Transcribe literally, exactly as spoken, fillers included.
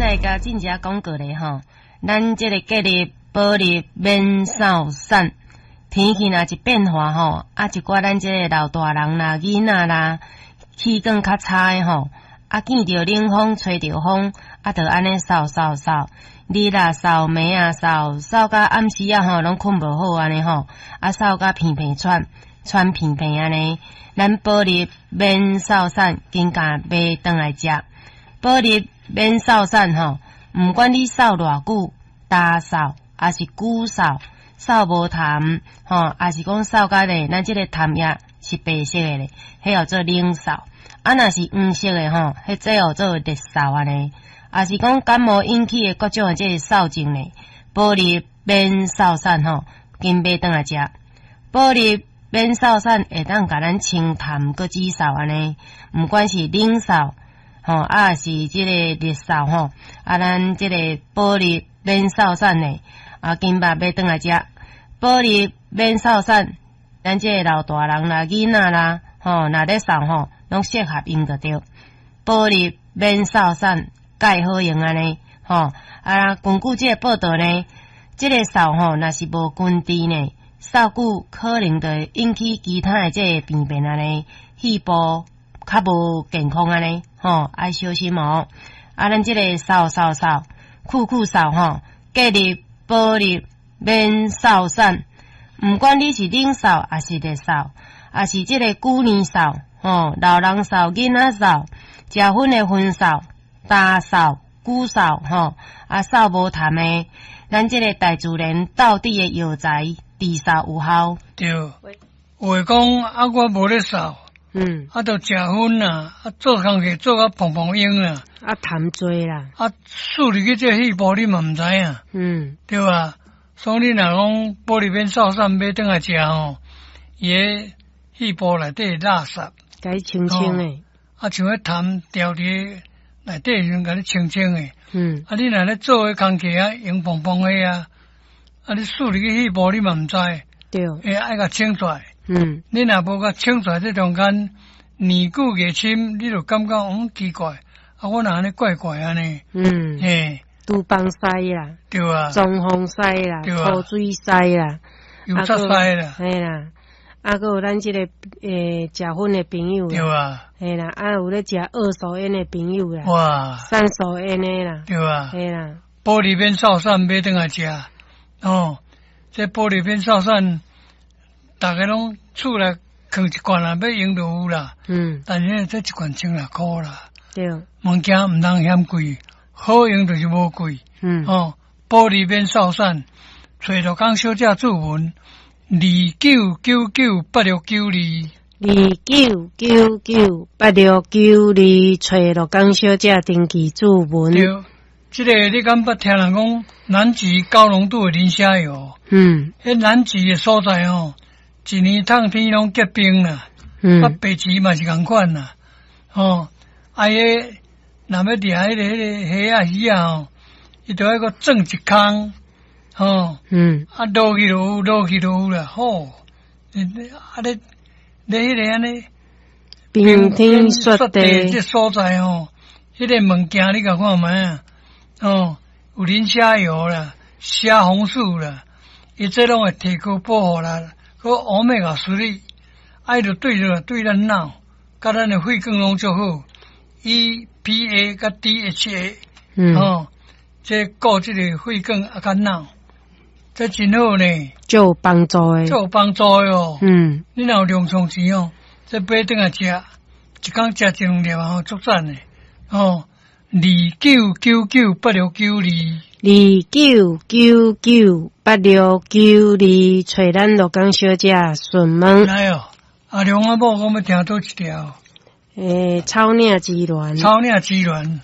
來共進一廣告咧吼，咱這个隔日保入免掃散，天氣若一變化吼，啊一寡咱這个老大人啦、囡仔啦，氣管較差的吼，啊見著冷風、吹著風，啊就按呢嗽嗽嗽，日啊嗽，暝啊嗽，嗽甲暗時仔吼攏睏無好按呢吼，啊嗽甲鼻鼻喘，喘鼻鼻按呢，咱保入免嗽散，緊共買轉來食。保入免嗽散吼，毋管你嗽偌久，焦嗽，抑是久嗽，嗽無痰吼，抑是講嗽甲咧，咱這个痰液是白色的咧，彼叫做冷嗽。啊，若是黃色的吼，彼這叫做熱嗽按呢。抑是講感冒引起的各種的這个嗽症咧，保入免嗽散吼，緊買轉來食。保入免嗽散會當共咱清痰閣止嗽按呢，毋管是冷嗽吼，啊是這個熱嗽吼，啊咱這個保入免嗽散咧，啊緊捌買轉來食。保入免嗽散，咱這個老大人啦、囡仔啦，吼，若咧嗽吼，攏適合用就對。保入免嗽散，蓋好用按呢，吼啊，根據這个報道呢，這個嗽吼，若是無根治呢，嗽久可能就會引起其他的這个病變按呢，肺部較無健康按呢，吼，愛小心哦。啊，咱這个嗽嗽嗽，久久嗽吼，隔日保入免嗽散，毋管你是冷嗽，抑是熱嗽，抑是這个久年嗽，吼，老人嗽、囡仔嗽，食薰的薰嗽、焦嗽、久嗽，吼，啊嗽無痰的，咱這个大自然道地的藥材治嗽有效。對，有的講啊，我無咧嗽，嗯，啊，就食薰啦，啊，做工課做甲膨膨湧啦，啊痰濟啦，啊，輸入去這肺部你嘛毋知影，嗯，對吧？所以你若講保入免嗽散買轉來食吼，伊个肺部內底垃圾，共伊清清的，啊，像彼痰牢佇內底時陣，共你清清的。嗯，啊，你若咧做彼工課啊，黃膨膨的啊，啊，你輸入去肺部你嘛毋知，對，會愛共清出來。嗯，你若無共清出來，這中間年久月深，你就感覺嗯奇怪，啊，我哪按呢怪怪按呢？嗯，嘿，廚房屎啦，對啊，裝潢屎啦，對啊塗水屎啦，油漆屎啦，嘿啦，啊，閣有咱這个欸食薰的朋友，對啊，嘿啦，啊有咧食二手菸的朋友啦，哇，三手菸的啦，對啊，嘿啦，保入免嗽散買轉來食，哦，這保入免嗽散，逐家攏厝內囥一罐啦，欲用就有啦。嗯，但是這一罐千外箍啦，對，物件毋通嫌貴，好用就是無貴。嗯，哦，保入免嗽散，揣陸江小姐注文，二九九九八六九二，二九九九八六九二，揣陸江小姐登記注文。對，這个你敢捌聽人講南極高濃度的磷蝦油？嗯，彼南極的所在吼，一年冬天攏結冰啦，嗯，啊，北極嘛是仝款啦，吼，啊，彼若欲掠彼个彼个蝦仔魚仔吼，伊就愛閣鑽一空，吼，嗯，啊，落去就有，落去就有啦，吼，啊咧咧彼个按呢冰天雪地這所在吼，彼个物件你共看覓啊？哦，有磷蝦油啦，蝦紅素啦，伊這攏會提高保護啦，閣 Omega three，啊，伊就對著對咱腦，佮咱的血管攏足好，E P A 佮 D H A，嗯，哦，這顧這個血管啊，佮腦，這真好呢，足有幫助的，足有幫助的哦。嗯，你若有狼瘡錢哦，這買轉來食，一工食一兩粒吼，足讚的，哦。二九九九八六九二，二九九九八六九二，揣咱鹿港小姐詢問。來哦，阿良阿某，我欲聽佗一條？欸，草嶺之戀。草嶺之戀。